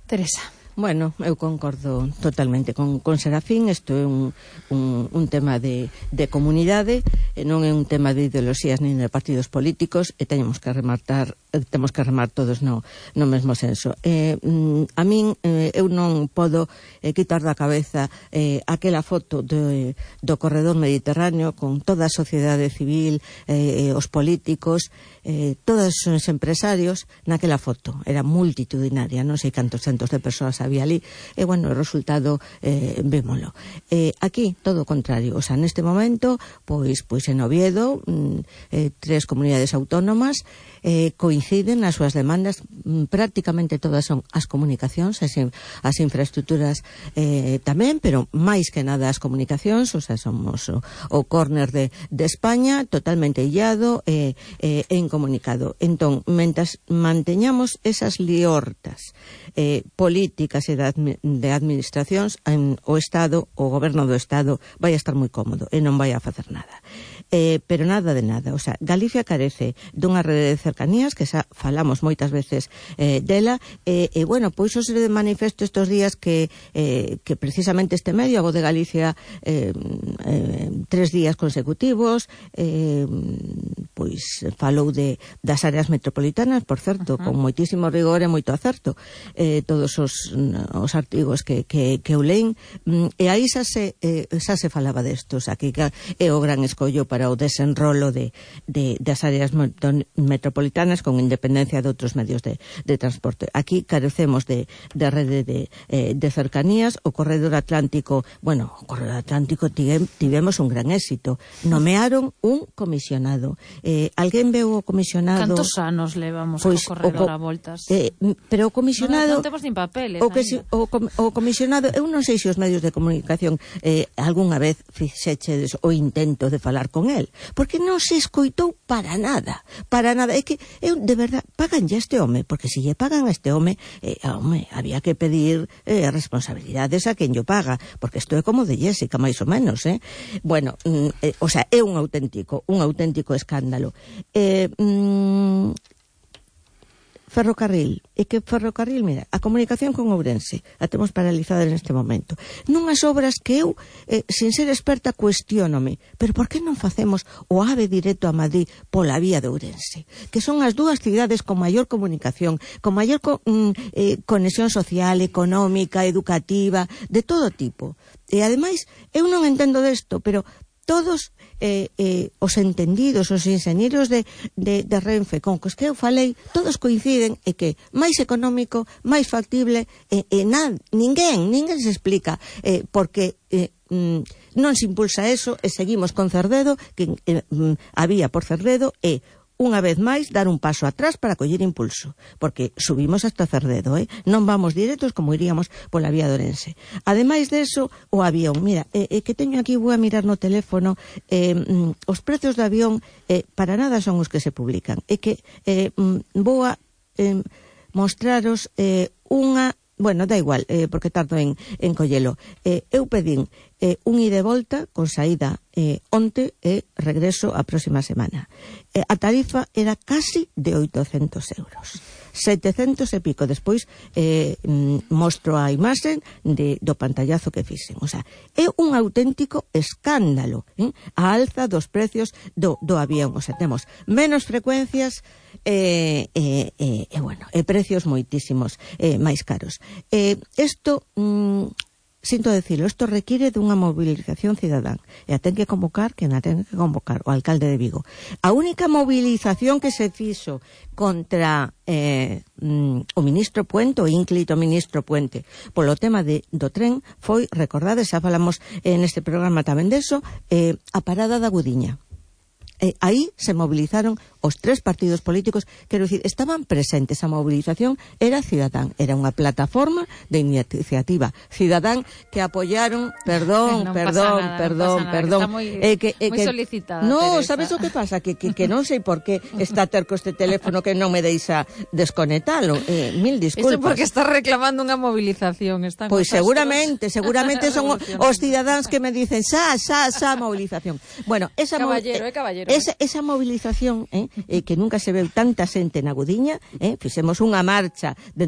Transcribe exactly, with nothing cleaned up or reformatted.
Teresa. Bueno, eu concordo totalmente con, con Serafín. Isto é un, un, un tema de, de comunidade, e non é un tema de ideoloxías nin de partidos políticos, e teñemos que rematar, temos que remar todos no, no mesmo senso. Eh, a min, eh, eu non podo eh, quitar da cabeza eh, aquela foto de, do corredor mediterráneo con toda a sociedade civil, eh, os políticos, eh, todos os empresarios naquela foto. Era multitudinaria, non sei cantos centos de persoas había ali, e bueno, o resultado eh, vémolo. Eh, aquí, todo o contrario, o sea, neste momento, pois, pois en Oviedo, mm, eh, tres comunidades autónomas eh, coinciden nas súas demandas, mm, prácticamente todas son as comunicacións, as, as infraestructuras eh, tamén, pero máis que nada as comunicacións, o sea, somos o, o córner de, de España, totalmente illado e eh, eh, incomunicado. Entón, mentas manteñamos esas liortas eh, políticas e de administracións, en, o Estado, o goberno do Estado vai a estar moi cómodo e non vai a facer nada. Eh, pero nada de nada. O sea, Galicia carece dunha rede de cercanías, que xa falamos moitas veces eh, dela, e eh, eh, bueno, pois o se de manifesto estes días que, eh, que precisamente este medio, a Voz de Galicia, eh, eh, tres días consecutivos, eh, pois falou de, das áreas metropolitanas, por certo, uh-huh. con moitísimo rigor e moito acerto, eh, todos os os artigos que, que, que eu lein, e aí xa se, eh, xa se falaba destos, aquí que é o gran escollo para o desenrolo de, de, das áreas metropolitanas con independencia de outros medios de, de transporte. Aquí carecemos de, de rede de, eh, de cercanías. O corredor atlántico, bueno, o corredor atlántico tivemos un gran éxito, nomearon un comisionado. Eh, alguén veu o comisionado? Cantos anos levamos pois, o corredor o, a voltas? Eh, pero o comisionado... Non, non temos nin papeles. O, que si, o, o comisionado, eu non sei se os medios de comunicación eh, algunha vez fixechedes o intento de falar con el, porque non se escoitou para nada, para nada. É que, eu, de verdad, pagan ya este home, porque se lle pagan a este home, eh, home, había que pedir eh, responsabilidades a quen yo paga, porque isto é como de Jessica, máis ou menos, eh? Bueno, mm, eh, o sea, é un auténtico, un auténtico escándalo. Eh, mm, Ferrocarril, e que ferrocarril, mira, a comunicación con Ourense a temos paralizada neste momento, nunhas obras que eu, eh, sin ser experta, cuestionome, pero por que non facemos o AVE directo a Madrid pola vía de Ourense, que son as dúas cidades con maior comunicación, con maior co, mm, eh, conexión social, económica, educativa, de todo tipo. E ademais, eu non entendo desto, pero todos eh, eh, os entendidos, os inxeñeros de, de, de Renfe con cos que eu falei, todos coinciden e que máis económico, máis factible, e, e nada, ninguén, ninguén se explica eh, porque eh, mm, non se impulsa eso, e seguimos con Cerdedo, que eh, mm, había por Cerdedo, e unha vez máis dar un paso atrás para coller impulso, porque subimos hasta Cerdedo, eh? Non vamos directos como iríamos pola vía de Ourense. Ademais de eso, o avión, mira, eh, eh, que teño aquí, vou a mirar no teléfono, eh, mm, os prezos do avión eh, para nada son os que se publican, é que eh, mm, vou a eh, mostraros eh, unha... Bueno, da igual, eh, porque tardo en, en collelo. Eh, eu pedín eh, un ida e volta con saída eh, onte e regreso a próxima semana. Eh, a tarifa era casi de oitocentos euros. setecentos e pico. Despois eh, mostro a imaxe de, do pantallazo que fixen. O sea, é un auténtico escándalo, eh? A alza dos precios do, do avión. O sea, temos menos frecuencias e, e, e, e bueno, e precios moitísimos eh, máis caros. Eh, esto... Mm, sinto decirlo, isto requiere dunha movilización cidadán, e a ten que convocar quen a ten que convocar, o alcalde de Vigo. A única movilización que se fixo contra eh, mm, o ministro Puente, o ínclito ministro Puente, polo tema de, do tren, foi, recordade, xa falamos eh, neste programa tamén deso, eh, a parada da Gudiña. Eh, aí se movilizaron os tres partidos políticos, quero dicir, estaban presentes. A movilización era cidadán, era unha plataforma de iniciativa cidadán que apoyaron, perdón, non perdón, nada, perdón, non perdón, está moi, eh, que, eh, moi que, solicitada. No, Teresa. sabes o que pasa? Que, que, que non sei por que está terco este teléfono que non me deixa desconectalo. Eh, mil disculpas. Iso porque está reclamando unha movilización. Están pois seguramente, seguramente son os cidadáns que me dicen xa, xa, xa, movilización. Bueno, esa caballero, é eh, caballero. Esa, esa movilización eh, eh, que nunca se veu tanta xente na Gudiña, eh, fixemos unha marcha dende